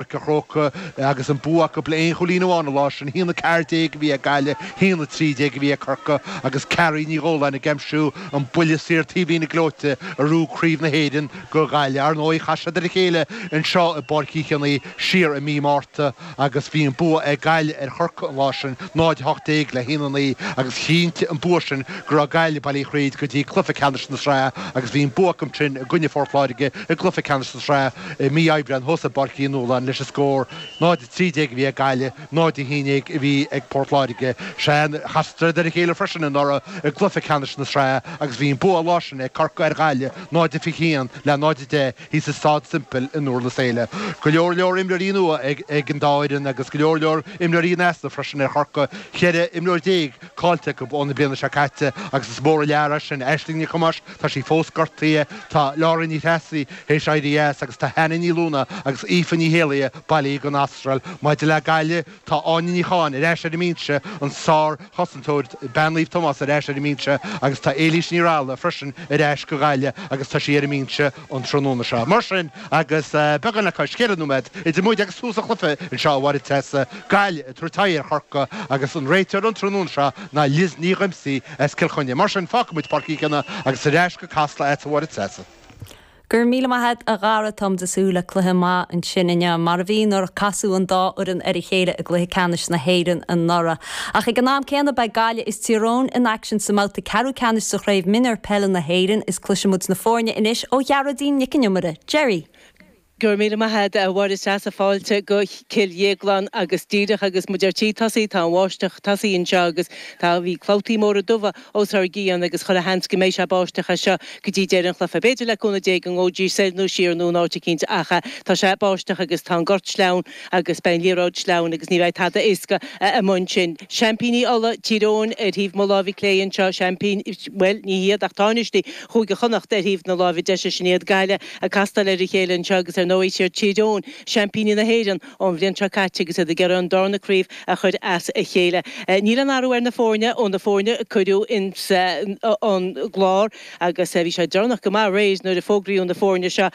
Páirc an Chrócaigh agus an bua acu le aon chúilín amháin an lá sin, 1-14 a bhí ag Gaillimh, 1-13 a bhí ag Corcaigh agus Carrie Ní Dhubhshláine ag aimsiú an buille saor taobhlíne gleoite a rug Craobh na hÉireann go Gaillimh. Ar ndóigh, chas siad ar a chéile anseo i bPáirc Uí Chionnaith siar i mí Márta agus bhí an bua ag Gaillimh ar Chorcaigh an lá sin, 0-18 le 1-9 agus chinntigh an bua sin go raibh Gaillimh bailithe thríd go dtí cluiche ceannais na sraithe agus bhí an bua acu sin i gcoinne Phort Láirge i gcluiche ceannais na sraithe. I mí Aibreáin thuas i bPáirc Uí Nualláin leis an scór 0-13 a bhí ag Gaillimh, 0-11 a bhí ag Port Láirge. Sea, chasadar ar a chéile freisin anuraidh i gcluiche ceannais na sraithe agus bhí an bua an lá sin ag Corcaigh ar Ghaillimh, 0-21 le 0-10 thíos i Staid Semple i nDurlas Éile. Go leor leor imreoirí nua ag an dá fhoireann agus go leor leor imreoirí in easnamh freisin ar Chorcaigh, 14 imreoir caillte acu ón bliana seo caite agus is mór an lear é sin. Aisling Nic Thomáis, tá sí fós gortaithe, tá Laura Ní Threasaigh théis éirí as agus tá Hannah Ní Luanaigh agus Aoife Ní Héalaithe bailithe don Astráil. Maidir le Gaillimh, tá Áine Ní Chatháin ar ais ar an mbinse, an sár-chosantóir bean Naomh Tomás ar ais ar an mbinse agus tá Éilís Ní Raghallaigh freisin ar ais go Gaillimh agus tá sí ar an mbinse an tráthnóna seo. Mar sin, agus beagán le cois 4 nóiméad idir muid agus tús an chluiche anseo, a Mháire Treasa, Gaillimh ag tabhairt aghaidh ar Chorcaigh agus an réiteoir an tráthnóna seo ná Liz Ní Dhoimsí as Cill Chainnigh. Mar sin, fágfaidh muid Páirc Uí Chionnaith agus ar ais go Casla agatsa a Mháire Treasa. Go raibh míle maith a't a Dhara, táimid ag súil le cluiche maith ansin inniu, mar a bhí nuair a casadh an dá fhoireann ar a chéile i gcluiche ceannais na hÉireann anuraidh. Ach ag an am céanna beidh Gaillimh is Tír Eoghain in aicsean sa mbabhta ceathrú ceannais sa Chraobh Mionúr Peile na hÉireann is cloisfidh muid na foirne anois ó Ghearóidín Nic an Iomaire. Gerry. Go raibh míle maith a't a Mháire Treasa, fáilte go Cill Dhéagláin agus díreach agus muid ar tí tosaí tá an bháisteach tosaithe anseo agus tá bhí clabhtaí móra dubha os ár gcionn agus chuile sheans go mbeidh sé ag báisteach as seo go dtí deireadh an chluiche. B'fhéidir le cúnamh Dé go ngabhfaidís soir nó siar nó in áit eicínt ach tá sé ag báisteach agus tá an gort sleamhain agus beidh an liathróid sleamhain agus ní bheidh tada éasca amuigh ansin. Seaimpíní Uladh, Tír Eoghain ar thaobh mo láimhe clé anseo, seaimpín, bhuel ní hiad ach tánaistí Chúige Chonnacht ar thaobh na láimhe deise, sin iad Gaillimh ag castáil ar a chéile anseo agus ar ndóigh is iad Tír Eoghain, seaimpíní na hÉireann ón bhliain seo caite agus iad ag iarraidh an darna craobh a chur as a chéile. Níl aon athrú ar na foirne ó na foirne a cuireadh ins an gclár agus bhí sé deireanach go maith aréir nuair a fógraíodh na foirne seo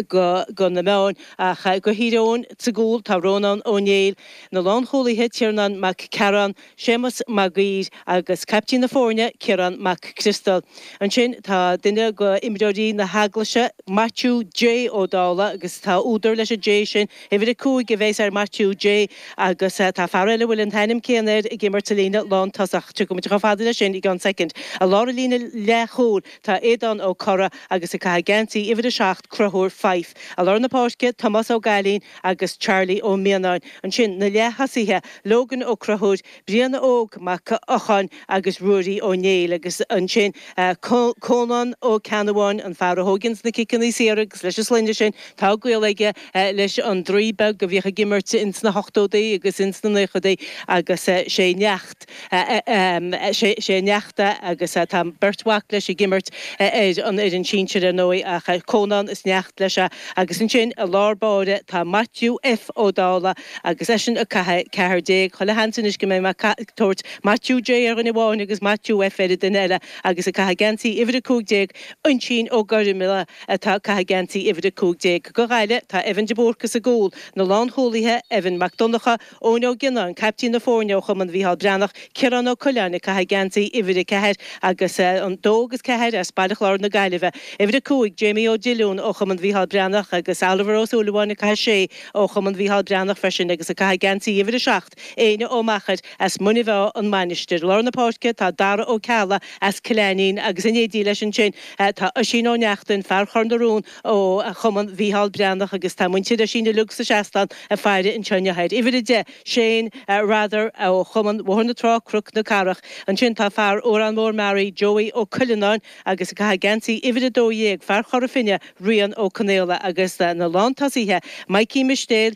go na meáin ach go Thír Eoghain sa gcúl tá Rónán Ó Néill, na lánchúlaithe Tiarnán Mac Cearáin, Séamus Mag Uidhir agus caiptín na foirne, Ciarán Mac Criostail. Ansin tá duine de imreoirí na hEaglaise, Maitiú J Ó Dálaigh, agus tá údar leis an J sin, uimhir 5 a bheas ar Maitiú J agus tá fear eile a bhfuil an t-ainm céanna air ag imirt sa líne lántosach. Tiocfaidh muid chomh fada leis sin i gceann soicind. I lár an líne leathchúil tá Aodán Ó Corra agus ag caitheamh geansaí uimhir 7, Conchúr Fyfe. I lár na páirce, Tomás Ó Gailín agus Charlie Ó Mianáin. Ansin, na leath-thosaithe, Logan Ó Conchúir, Brian Óg Mac Eocháin agus Ruairí Ó Néill agus ansin Cónán Ó Ceannabháin, an fear a thóigeanns na ciceanna saora agus leis an sloinne sin tá gaol aige leis an Draoi Beag a bhíodh ag imirt ins na hochtódaí agus ins na naochadaí agus sé neacht sé a neacht é agus tá beirt mhac leis ag imirt ar an fhoireann sinsir ar ndóigh ach Cónán is neacht leis é agus ansin i lár báire tá Maitiú F Ó Dálaigh agus eisean ag caitheamh 14. Chuile sheans anois go mbeidh mé ag tabhairt Maitiú J ar dhuine amháin agus Maitiú F ar an duine eile agus ag caitheamh geansaí uimhir 15 Uinsín Ó Gormlaigh atá ag caitheamh geansaí uimhir 15. Go Ghaillimh tá Evan de Búrca sa gcúl, na lánchúlaithe Evan Mac Donncha, Eoin Ó Gionnáin, caiptín na foirne ó Chumann Mhícheál Breathnach, Ciarán Ó Coileáin ag caitheamh geansaí uimhir 4 agus an 2 agus 4 as Baile Chláir na Gaillimhe, uimhir 5, Jamie Ó Dillúin ó Chumann Mhícheál Breathnach agus Oliver Ó Súilleabháin ag caitheamh 6 ó Chumann Mhícheál Breathnach freisin agus ag caitheamh geansaí uimhir 7, Éanna Ó Meachair as Muine Mheá, An Mhainistir. I lár na páirce tá Dara Ó Ceallaigh as Cill Ainnín agus in éindí leis ansin tá Oisín Ó Neachtain, fear Chor na Rón ó Chumann Mhícheál Breathnach agus tá muintir Oisín uilig sa seastán ag faire anseo inniu air. Uimhir 10, Shane Rather ó Chumann Bhóthar na Trá, Cnoc na Cathrach. Ansin tá fear Órán Mór Mearaí, Joey Ó Cuileanáin agus ag caitheamh geansaí uimhir 12, fear Chora Finne, Rian Ó Conaola agus na lántosaithe, Mikey Mistéil,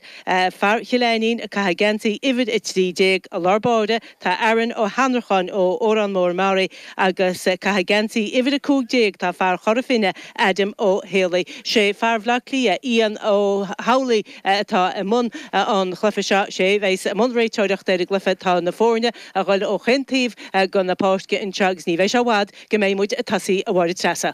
fear Chill Ainnín ag caitheamh geansaí uimhir 13. I lár báire tá Aaron Ó hAnnracháin ó Órán Mór Mearaí agus ag caitheamh geansaí uimhir 15 tá fear Chora Finne, Adam Ó Héalaí. Sé fear Bhaile Átha Cliath, Ian Ó hAmhlaigh atá i mbun an chluiche seo. Sé a bheas i mbun réiteoireachta ar an gcluiche. Tá na foirne a dhul ó chaon taobh de na páirce anseo agus ní bheidh sé i bhfad go mbeidh muid ag tosaí, a Mháire Treasa.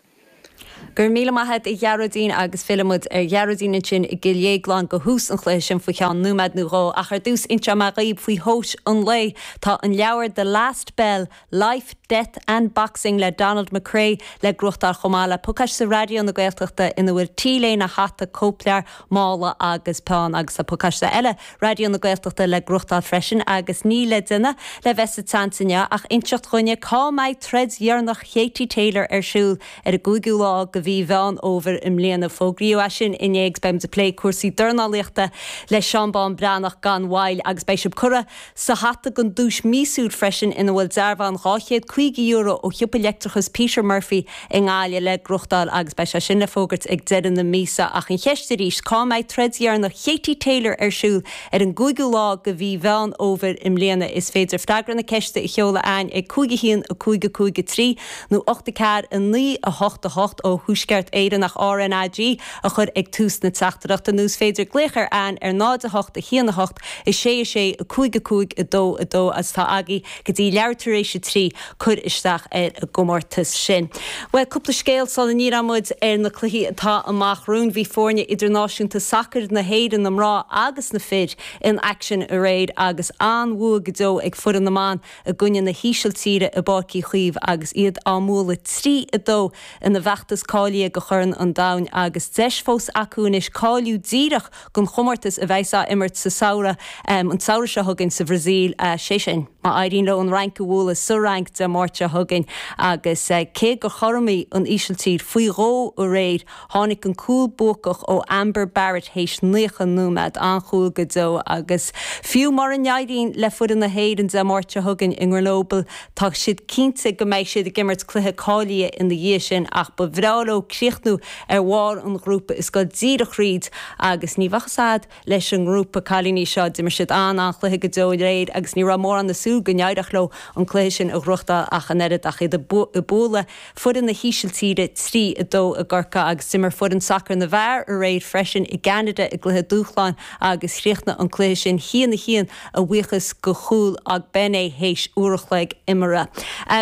Go raibh míle maith a't a Ghearóidín agus fillfidh muid ar Ghearóidín ansin i gCill Dhéagláin go thús an chluiche sin faoi cheann nóiméad nó dhó ach ar dtús inseoidh mé dhaoib faoi thomhais an lae. Tá an leabhar The Last Bell, Life, Death and Boxing le Donald McRae le gnóthachtáil chomh maith le pacáiste Raidió na Gaeltachta ina bhfuil T-léine, hata, cóipleabhar, mála agus peann agus tá pacáiste eile Raidió na Gaeltachta le gnóthachtáil freisin agus níl le déanamh le bheith sa tseans inniu ach inseacht dhúinne cá mbeidh troid dheireanach Katie Taylor ar siúl ar an gcúigiú lá de mhí Mheán Fhómhair i mbliana. Fógraíodh é sin inné agus beidh muid ag plé cúrsaí dornálaíochta le Seán Bán Breathnach gan mhoill agus beidh sibh curtha sa hata don duais míosúil freisin ina bhfuil dearbhán €250 ó shiopa leictreachais Peter Murphy i nGaillimh le gnóthachtáil agus beidh sé sin le fógairt ag deireadh na míosa. Ach an cheist arís, cá mbeidh troid dheireanach Katie Taylor ar siúl ar an gcúigiú lá de mhí Mheán Fhómhair i mbliana? Is féidir freagra na ceiste a sheoladh a'ainn ag 5 1 5 5 3 nó 8 4 9 8 8 ó Thuaisceart Éireann ach RnaG a chur ag tús na teachtaireachta nó is féidir glaoch ar a'ainn ar 0 8 1 8 6 6 5 5 2 2 agus tá agaibh go dtí leathuair tar éis a 3 cur isteach ar an gcomórtas sin. Bhuel, cúpla scéal sula ndíreoidh muid ar na cluichí atá amach romhainn. Bhí foirne idirnáisiúnta sacair na hÉireann, na mná agus na fir, in aicsean aréir agus an-bhua go deo ag foireann na mban i gcoinne na hÍsiltíre i bPáirc Uí Chaoimh agus iad á mbualadh 3, 2 ina bhfeachtas cáilithe do Chorn an Domhain agus deis fós acu anois cáiliú díreach don chomórtas a bheas á imirt sa samhradh, an samhradh seo chugainn sa Bhrasaíl, sé sin, má éiríonn leo an Fhrainc a bhualadh sa Fhrainc Dé Máirt seo chugainn. Agus cé gur chothromaigh an Ísiltír faoi dhó aréir, tháinig an cúl buacach ó Amber Barrett théis 90 nóiméad. An-chúl go deo agus fiú mura n-éiríonn le foireann na hÉireann Dé Máirt seo chugainn i nGrenoble, tá siad cinnte go mbeidh siad ag imirt cluiche cáilithe ina dhiaidh sin ach ba bhreá leo críochnú ar bharr an ghrúpa is dul díreach thríd agus ní bheadh fhios a'd leis an ngrúpa cailíní seo. D'imir siad an-an-chluiche go deo aréir agus ní raibh mórán ag súil go n-éireodh leo an cluiche sin a ghnóthachtáil ach an oiread ach iad ag bualadh foireann na hÍsiltíre 3, 2 i gCorcaigh agus d'imir foireann sacair na bhfear aréir freisin i gCeanada i gcluiche dúshláin agus chríochnaigh an cluiche sin 1, 1 a bhuíochas go chúl Ogbene théis uair a chloig imeartha.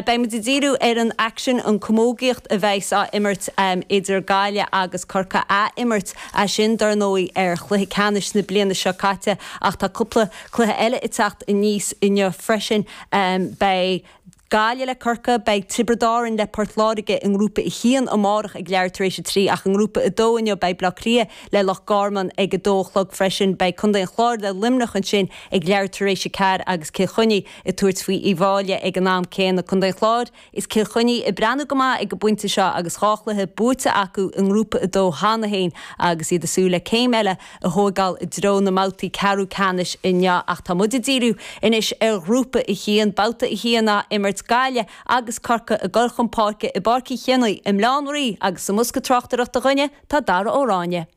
Beidh muid ag díriú ar an aicsean, an camógaíocht a bheas á imirt idir Gaillimh agus Corcaigh, ath-imirt é sin dar ndóigh ar chluiche ceannais na bliana seo caite ach tá cúpla cluiche eile ag teacht aníos inniu freisin. Beidh. Gaillimh le Corcaigh, beidh Tiobraid Árann le Port Láirge i nGrúpa 1 amárach ag leathuair tar éis a 3 ach i nGrúpa 2 inniu beidh Bleá Cliath le Loch Garman ag a 2 a chlog freisin. Beidh Contae an Chláir le Luimneach ansin ag leathuair tar éis a 4 agus Cill Chainnigh ag tabhairt faoi Uíbh Fhailí ag an am céanna. Contae an Chláir is Cill Chainnigh ag breathnú go maith ag an bpointe seo agus dhá chluiche buaite acu i nGrúpa 2 cheana féin agus iad ag súil le céim eile a thóigeáil i dtreo na mbabhtaí ceathrú ceannais inniu ach tá muid ag díriú anois ar Ghrúpa 1, Babhta 1 á imirt, Gaillimh agus Corcaigh ag dul chun páirce i bPáirc Uí Chionnaith i mBaile Átha an Rí agus sa mbosca tráchtaireachta dhúinne tá Dara Ó Ráinne.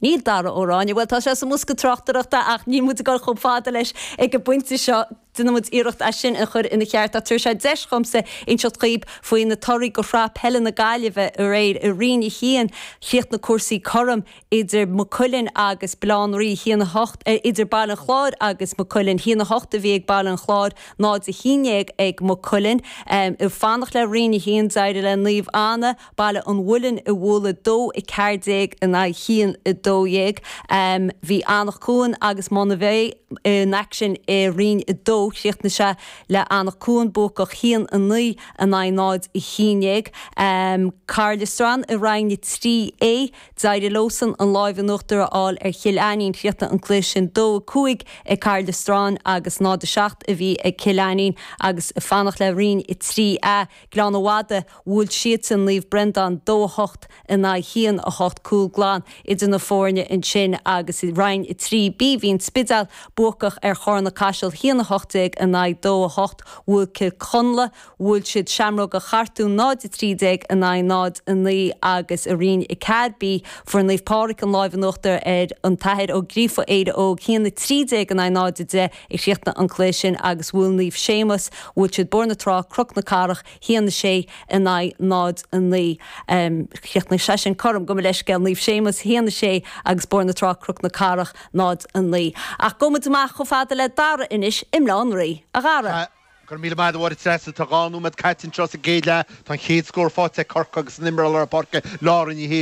Níl Dara Ó Ráinne, bhuel tá sé sa mbosca tráchtaireachta ach níl muid ag dul chomh fada leis ag an bpointe seo. Déanfaidh muid iarracht é sin a chur ina cheart ach tabharfaidh sé deis dhomsa inseacht dhaoib faoi na torthaí go Shraith Peile na Gaillimhe aréir. I Roinn 1, chríochnaigh cúrsaí cothrom idir Maigh Cuilinn agus Baile Átha an Rí, 1, 8, idir Baile an Chláir agus Maigh Cuilinn, 1, 8 a bhí ag Baile an Chláir, 0, 11 ag Maigh Cuilinn. Ag fanacht le Roinn 1, d'éirigh le Naomh Anna, Baile an Mhuilinn a bhualadh 2, 14 in aghaidh 1, 12. Bhí Anach Cuain agus Monabhey in aicsean i Roinn 2. Chríochnaigh sé le Anach Cuain buacach 1, 9 in aghaidh 0, 11. Caherlistrane i Roinn 3A. D'éirigh leosan an láimh in uachtar a fháil ar Chill Ainnín. Chríochnaigh an cluiche sin 2, 5 ag Caherlistrane agus 0, 7 a bhí ag Cill Ainnín agus ag fanacht le Roinn 3A. Gleann an Mhadaidh, bhuail siadsan Naomh Breandán 2, 8 in aghaidh 1, 8, cúl glan idir na foirne ansin agus i Roinn 3B bhí an Spidéal buacach ar Chárna Caiseal 1, 18 in aghaidh 2, 8, bhuail Cill Chonla, bhuail siad Seamróga Chartúin 0, 13 in aghaidh 0, 9 agus i Roinn 4B fuair Naomh Pádraig an láimh in uachtar ar an tAthair Ó Gríofa Éire Óg 1, 13 in aghaidh 0, 10. a chríochnaigh an cluiche sin agus bhuail Naomh Séamus, bhuail siad Bóthar na Trá, Cnoc na Cathrach, 1, 6 in aghaidh 0, 9. Chríochnaigh sé sin cothrom, gabh mo leithscéal, Naomh Séamus, 1, 6 agus Bóthar na Trá, Cnoc na Cathrach, 0, 9. Ach gabhfaidh muid amach chomh fada le Dara anois i mBaile Átha an Rí. A Dhara. Go raibh míle maith agat a Mháire Treasa. Tá 2 nóiméad caite anseo sa gcéad leath. Tá an chéad scór faighte ag Corcaigh agus an imreoir lár páirce Laura Ní Shé.